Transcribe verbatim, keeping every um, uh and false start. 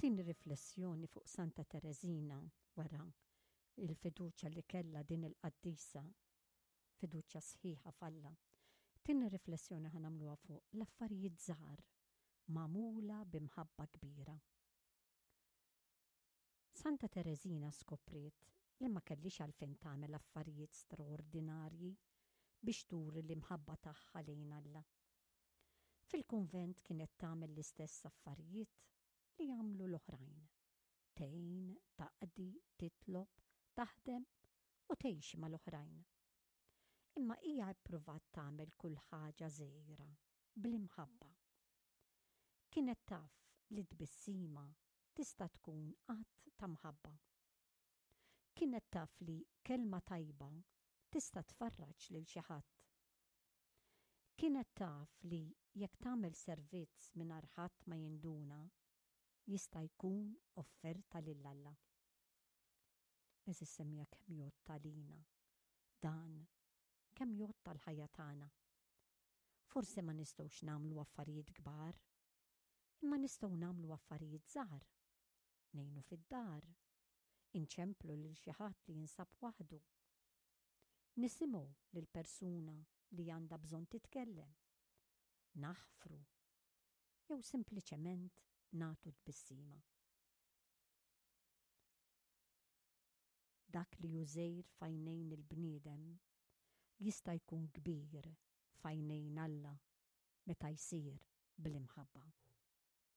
It-tieni riflessjoni fuq Santa Tereżina wara il-fiduċja li kellha din il-qaddisa, fiduċja sħiħa f'Alla. Tieni riflessjoni ħa nagħmluha fuq l-affarijiet żgħar magħmula b'imħabba kbira. Santa Tereżina skopriet li ma kellix għalfejn tagħmel affarijiet straordinarji biex turi l-imħabba tagħha lejn Alla. Fil-kunvent kienet tagħmel l-istess affarijiet li jagħmlu l-oħrajn. Tgħin, taqdi, titlob, taħdem u tgħix mal-oħrajn. Imma hija ppruvat tagħmel kull ħaġa żgħira bl-imħabba. Kienet taf li tbissima tista' tkun att ta' mħabba. Kienet taf li kelma tajba tista' tfarraġ lil xi ħadd. Kienet taf li jekk tagħmel servizz mingħajr ħadd ma jinduna, jista' jkun offerta lil Alla. Għeżież semmiegħa, kemm jgħodd għalina dan, kemm jgħodd għall-ħajja tagħna. Forse ma nistgħux nagħmlu affarijiet kbar, imma nistgħu nagħmlu affarijiet żgħar. Ngħinu fid-dar, inċemplu lil xi ħadd li jinsab waħdu. Nisimgħu lil persuna li għandha bżonn titkellem. Naħfru jew sempliċement nagħtu tbissima. Dak li hu żgħir f'għajnejn il-bniedem jista' jkun kbir f'għajnejn Alla meta jsir bl-imħabba.